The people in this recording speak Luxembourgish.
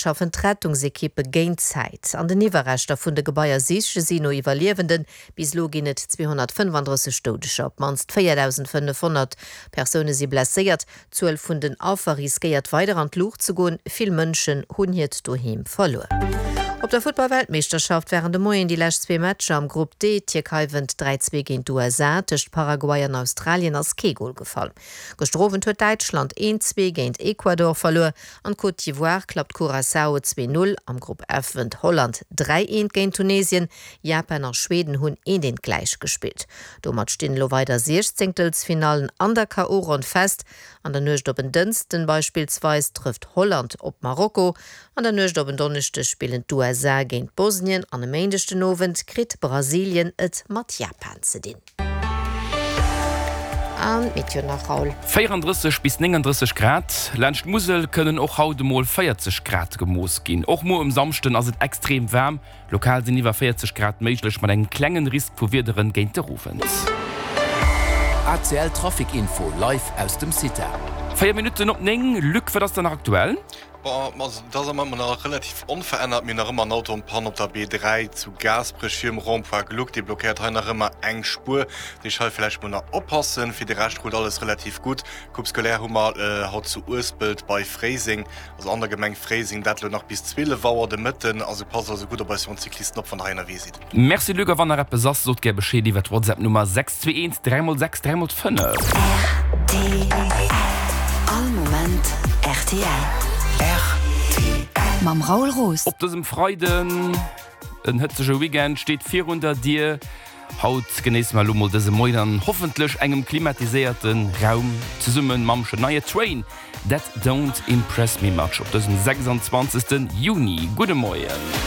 Schaffen d'Rettungsekippe géint d'Zäit. An den Iwwerreschter vun de Gebaier siche si no Iwwerliewenden. Bis elo ginn et 235 Doudeger. Op d'mannst 4.500 Persoune si blesséiert. D'Zuel vun den Affer riskéiert weider an d'Luucht ze goen. Vill Mënschen hunn hiert Doheem verluer. Op der Futtball-Weltmeeschterschaft waren de Moien déi lescht zwee Matcher am Grupp D. D'Tierkei wënnt 3, 2 géint d'USA. Tëscht Paraguay an Australien ass kee Gol gefall. Gëschter Owend huet Däitschland 1, 2 géint Ecuador verluer. An d'Côte d'Ivoire klappt Curaçao 2, 0. Am Grupp F wënnt Holland 3, 1 géint Tunesien. Japan a Schweden hunn 1, 1 gläich gespillt. Domat stinn elo weider Siechzéngtelsfinallen an der KO-Ronn fest. An der Nuecht op en Dënsten beispillsweis trëfft Holland op Marokko. An der Nuecht op en Donneschdeg spillen d'USA géint Bosnien an e Méindeg den Owend kritt Brasilien et mat Japan ze dinn. An d'Meteo nach, Raoul. 34 bis 39 Grad, laanscht d'Musel kënnen och haut emol 40 Grad gemooss ginn. Och muer um Samschden ass et extrem waarm, lokal sinn iwwer 40 Grad méiglech, mat engem klengen Risk vu Wiederen géint de Owend. ACL Trafic Info live aus dem CITA. 4 Minutten op 9, Luc, wat ass dann nach aktuell? Bon, also et ass am Moment nach relativ onverännert. Mir hunn nach ëmmer en Auto en panne op der B3 zu Gaasperech virum Rond-point Gluck. Dee blockéiert hei nach ëmmer eng Spuer. Dat heescht, hei vläicht mol nach oppassen. Fir de Rescht rullt alles relativ gutt. Coupe scolaire hu mer haut zu Uespelt bei Fréiseng, also an der Gemeng Fréiseng. Dat elo nach bis 12 Auer de Mëtten. Also passt also gutt op eis jonk Cyclisten op, wann der hei ënnerwee sidd. Merci Luc, a wann nach eppes ass, sot gär Bescheed iwwer d'Whatsapp Nummer 621 3 x 6 3 x 5. Rtl. All Moment rtl. Rtl. Mam Raoul Roos. Op dësem Freiden, en hëtzege Weekend steet virun der Dier. Haut genéisse mer elo mol dëse Moien an hoffentlech engem klimatiséierte Raum zesumme mam Shania Twain That Don't Impress Me Much op dësem 26. Juni. Gudde Moien.